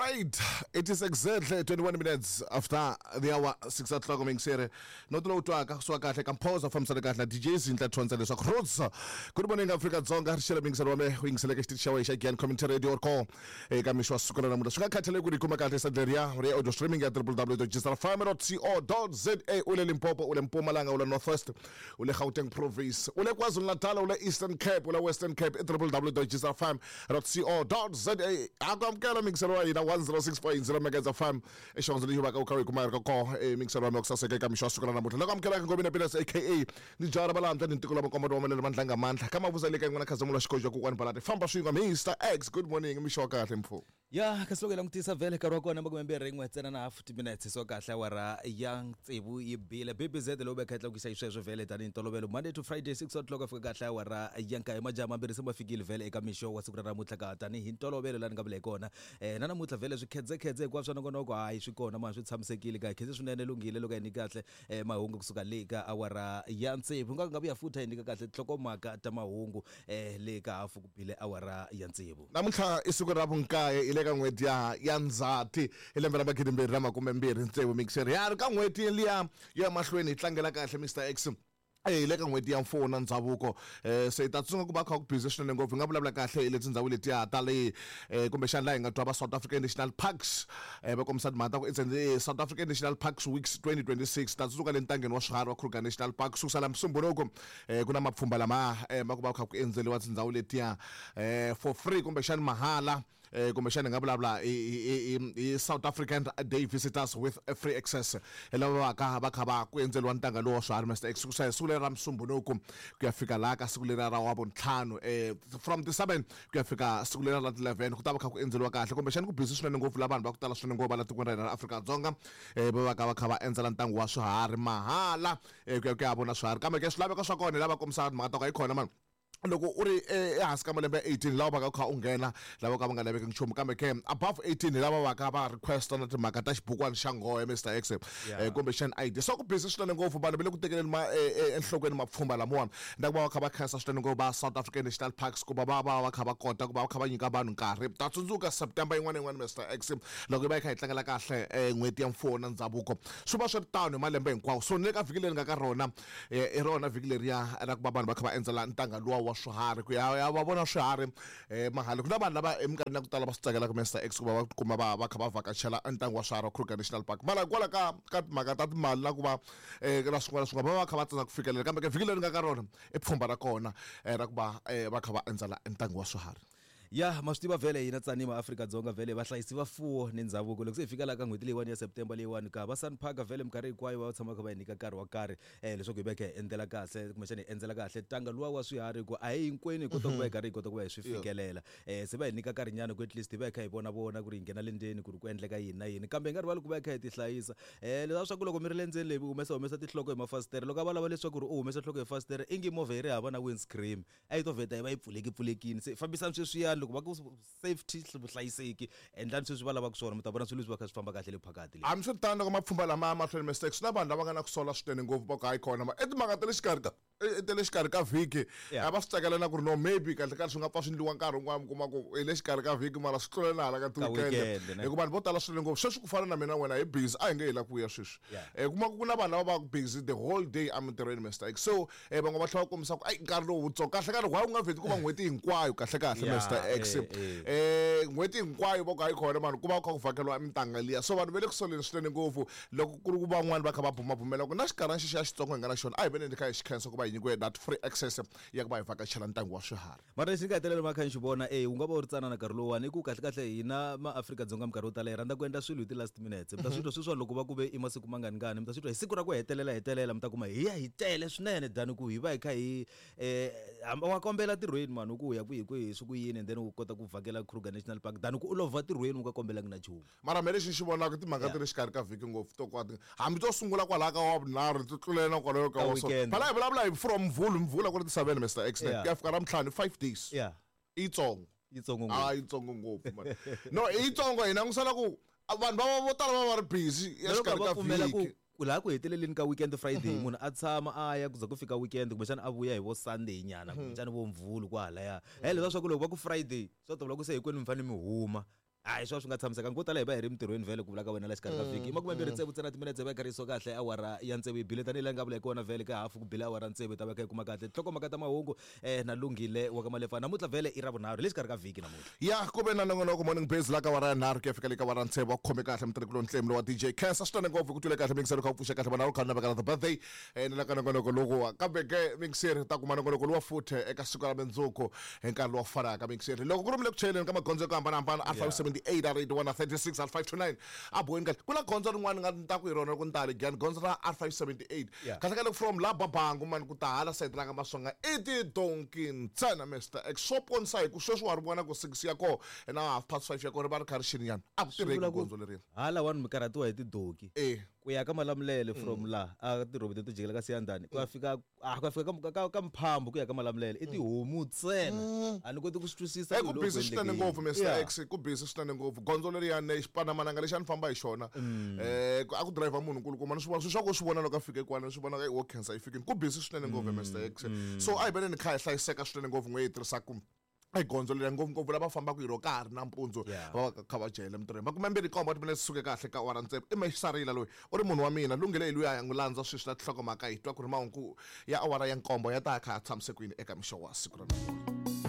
Right, it is exactly 21 minutes after the hour 6 o'clock mingisere. Noto lowu twaka swa kahle ka mphoza fambisana kahle na DJ Zinhla Thonza leswaku Rhodes. Good morning Afrika Dzonga, ri xela mingiselo wa me u yingiseleke xitichi xa wena xa Gian Community Radio or call eka mixo wa siku ra namuntlha. Swi nga khathaleki ku ri kuma kahle sadleria ri audio streaming ya www.gsrfm.co.za u le Limpopo, u le Mpumalanga, u le North West, u le Gauteng Province, u le KwaZulu-Natal, u le Eastern Cape, u le Western Cape, i www.gsrfm.co.za. Ha ku amukela mingiselo wa hina 106.0 Megahertz FM i xihondzo lexi vaka u kha u yi kuma yi ri ka koho e mingiselo wa mina ku saseka eka mixo wa siku ra namuntlha. Loko amukelaka Ngomeni Pilas aka ni jara valantwa ni ntiko la makomba wa malele mandlanga mandla ka mavuza le ka yin'wana khazamula xikojo kokwani balati famba swin'we Mr X. Good morning, mixo wa kahle mfo. Ya kasi loko hi langutisa vhele nkarhi wa kona makumembirhi yin'we ntsena na hafu timinetse so kahle awara ya tsevu yi bile bbz lowu veka yi tlakukisa xisweswo vhele tanihi ntolovelo Monday to Friday 6 o'clock a fika kahle awara ya nkaye majaha mambirhi se ma fikile vhele eka mixo wa siku ra namuntlha ka tanihi ntolovelo laha ni nga vula hi kona na namuntlha vhele swikhedzekhedze hinkwaswo swa nongonoko hayi swi kona mani swi tshamisekile ka hi khense swinene lunghile loko hi nyika kahle mahungu kusuka le ka awara ya tsevu nga nga vuya futhi hi nyika kahle tinhlokomhaka ta mahungu le ka hafu ku bile awara ya tsevu. Namuntlha i siku ra vunkaye hi le ka n'hweti ya ya Ndzhati hi lembe ra magidimbirhi na makume mbirhi tsevu mixer ya ri ka n'hweti liya yo ya mahlweni hi tlangela kahle Mister X hi le ka n'hweti ya mfuwo na ndhavuko se hi ta tsundzuka ku va kha ku busy swinene ngopfu hi nga vulavula kahle hi leti tindhawu letiya ta le kumbexana laha hi nga twa va South African National Parks va kombisa timhaka ta ku it's the South African National Parks Weeks 2026 ta tsundzuka le ntangeni wa swiharhi wa Kruger National Park sukusela Musumbhunuku ku na mapfhumba lama ma ku va kha ku endzeriwa tindhawu letiya for free kumbexana mahala Kumbexana hi nga vulavula hi South African Day Visitors with Free Access, hi lava va ka va kha va ku endzeriwa ntanga lowu wa swiharhi Mister X ku siku leri ra Musumbhunuku ku ya fika laha ka siku leriya ra Wavuntlhanu from the 7 ku ya fika siku leriya ra 11 ku ta va kha ku endzeriwa kahle kumbexana ku busy swinene ngopfu la vanhu va ku tala swinene ngopfu va la tikweni ra hina ra Afrika-Dzonga va va ka va kha va endzela ntanga wa swiharhi mahala ku ya ku ya vona swiharhi kambe ke swilaveko swa kona hi lava kombisaka timhaka ta ku hayikhona mani loko u ri ehansi ka malembe ya 18 lava vaka u kha u nghena lava ka va nga laveki nchumu kambe ke above 18 hi lava vaka va request na timhaka ta xibukwana xa nghohe Mr X kumbexana ID so ku busy swinene ngopfu vanhu va le ku tekeleni ma enhlokweni mapfhumba lamawani na ku va va kha va khensa swinene ngopfu va South African National Parks ku va va va va kha va kota ku va va kha va nyika vanhu nkarhi ta tsundzuka September yin'wana na yin'wana Mr X loko yi va yi kha yi tlangela kahle n'hweti ya mfuwo na ndhavuko swi va swi ri tano hi malembe hinkwawo so ni le ka vhiki leri nga ka rona I rona vhiki leriya ra ku va vanhu va kha va endzela ntanga luwa wa swiharhi ku ya ya va vona swiharhi mahala. Ku na vanhu lava eminkarhini ya ku tala va swi tsakelaka Mister X ku va va tikuma va va kha va vhakachela ntanga wa swiharhi wa Kruger National Park. Mara hikwalaho ka ka timhaka ta timali na ku va na swin'wana na swin'wana va va kha va tsandza ku fikelela kambe ke vhiki leri nga ka rona i pfhumba ra kona ra ku va va kha va endzela ntanga wa swiharhi. Ya ma swi tiva vhele hina tsani maAfrika-Dzonga vhele vahlayisi va fuwo ni ndzhavuko. Loko se hi fika laha ka n'hweti leyiwani ya September leyiwani ka va Sun Park vhele minkarhi hinkwayo va tshama va kha va hi nyika nkarhi wa karhi leswaku hi va hi kha hi endzela kahle kumbexana hi endzela kahle ntanga luwa wa swiharhi hi ku a hi hinkwenu hi kota ku va hi karhi hi kota ku va hi swi fikelela. Se va hi nyika nkarhinyana ku at least hi va hi kha hi vona vona ku ri hi nghena le ndzeni ku ri ku endleka yini na yini kambe hi nga rivali ku va hi kha hi ti hlayisa. Leswiya swa ku loko mi ri le ndzeni le mi humesa humesa tinhloko hi mafasitere loko a va lava leswaku ri u humesa nhloko hi fasitere ingi movha yi ri hava na windscreen. A yi to vheta yi va yi pfuleki pfulekini se fambisani sweswiyani loko va ku safety vuhlayiseki endlani sweswi va lavaka swona mi ta vona swilo leswi va kha swi famba kahle le phakati le. Hambiswiritano loko mapfhumba lama ya mahlweni Mister X na vanhu lava nga na ku sola swinene ngopfu va ku hayi khona i timhaka ta le xikarhi ka ta le xikarhi ka vhiki a va swi tsakela na ku ri no maybe kahle kahle swi nga pfa swi endliwa nkarhi wun'wana mi kuma ku hi le xikarhi ka vhiki mara swi tlule na hala ka ti-weekend hi ku vanhu vo tala swinene ngopfu sweswi ku fana na mina wena hi busy a hi nge hi la ku vuya sweswi kuma ku ku na vanhu lava va ku busy the whole day emintirhweni Mister X so Van'we va tlhela va kombisa ku ayi nkarhi lowu wutsongo kahle kahle why u nga vheti ku va n'hweti hinkwayo kahle kahle Mister X n'hweti hinkwayo va ku hayi khona mani ku va ku kha ku vhakeriwa mintanga liya so vanhu va le ku soleni swinene ngopfu loko ku ri ku van'wani va kha va bumabumela ku na xikarhana xexiya xitsongo hi nga na xona a hi veneni kha hi xi khensa ku va hi nyikiwe that free access ya ku va hi vhakachela ntanga wa swiharhi. Mara lexi ni nga hetelela ma kha ni xi vona e wu nga va wu ri tsanana nkarhi lowuwani i ku kahle kahle hina maAfrika-Dzonga minkarhi yo tala hi rhandza ku endla swilo hi ti-last minutes mi ta swi twa sweswiwani loko va ku ve i masiku mangani ngani mi ta swi twa hi siku ra ku hetelela hetelela mi ta kuma hi ya hi tele swinene than ku hi va hi kha hi um wa kombela tirhweni mani u ku u ya kwihi kwihi swi ku yini and then u kota ku vhakela Kruger National Park than ku u lova tirhweni u nga kombelangi na nchumu. Mara me lexi ni xi vonaka timhaka ta le xikarhi ka vhiki ngopfu to kwati hambi to sungula kwalaya ka wavunharhu ti tlulela na kwalayo ka wa so phela hi vulavula hi from Mvhulu Mvhulu a ku ri ti 7 Mister X ne ku ya fika Ravuntlhanu 5 days i yitsongo yitsongo ngopfu a yitsongo ngopfu man no i yitsongo hi langusela ku vanhu va vo tala va va ri busy ya xikarhi ka vhiki ku laha ku heteleleni ka weekend Friday munhu a tshama a ya ku za ku fika weekend kumbexana a vuya hi vo Sunday nyana kumbexana vo Mvhulu kwahalaya he leswiya swa ku loko va ku Friday swa tovula ku se hinkwenu mi fanele mi huma. Hayi, swa swi nga tshamisekanga. Ko tala hi va hi ri mintirhweni vhele, ku vula ka wena la xikarhi ka vhiki. I 26 ntsena timinetse va yi karhi yi so kahle awara ya tsevu yi bile, tanihi laha nga vula hi kona vhele ka hafu ku bile awara tsevu, hi ta va kha hi kuma kahle tinhlokomhaka ta mahungu na Lunghile wa ka Malefa. Namuntlha vhele i Ravunharhu, hi le xikarhi ka vhiki namuntlha. Ya ku ve na nongonoko Morning Biz la ka awara ya nharhu ku ya fika le ka awara tsevu. Wa ku khome kahle mutirhikuloni Ntlemi lowa DJ Khensa swinene ngopfu ku twile kahle mixer kha u pfuxe kahle vanharhu kha navekana the birthday ni la ka nongonoko lokuwa. Kambe ke mixer ta kuma nongonoko lowa futhe eka siku ra mundzuku hi nkarhi lowu fanaka. Mixer loko ku ri mi le ku chayeleni ka magondzo yo hambanahambana, R578, R81 na 36, R529 a boheni kahle. Ku na gondzo rin'wana nga ni ta ku hi rona loko ni ta le Giyani, gondzo ra R578. Kahle kahle from la Babangu mani ku ta hala sayiti ra ka Masonga i tidonki ntsena, Mr X. Swo ponisa hi ku sweswi wa ri vona ku 6 ya koho na 5:30 ya koho ri va ri kha ri xininyana. A ku tirheki gondzo leriya. Hala wani mi karhatiwa hi tidoki. Ku ya ka Malamulele from la a tirhoboti to jikela ka Siyandhani ku ya fika, a ku ya fika ka Mphambu ku ya ka Malamulele i tihomu ntsena. A ni koti ku swi twisisa. Ku busy swinene ngopfu, Mr X, ku busy swinene ngopfu gondzo leriyani. Xipandzamananga lexi a ni famba hi xona, a ku driver munhu nkulukumba, ni swi vona swilo swa ku swi vona loko a fike kwala, ni swi vona wo khensa yi fikini. Ku busy swinene ngopfu, Mr X. So a hi veneni kha hi hlayiseka swinene ngopfu n'we hi tirhisaku egondzo leri, ngopfungopfu lava fambaka hi ro ka ha ri nampundzu, va va kha va jahele mintirhweni. 27 timinete suke kahle ka awara tsevu. I Mexisarila loyi u ri munhu wa mina Lunghile, hi luya ya n'wi landza sweswi na tinhlokomhaka, hi twa ku ri mahungu ya awara ya nkombo ya ta ya kha ya tshamisekwini eka mixo wa siku ra namuntlha.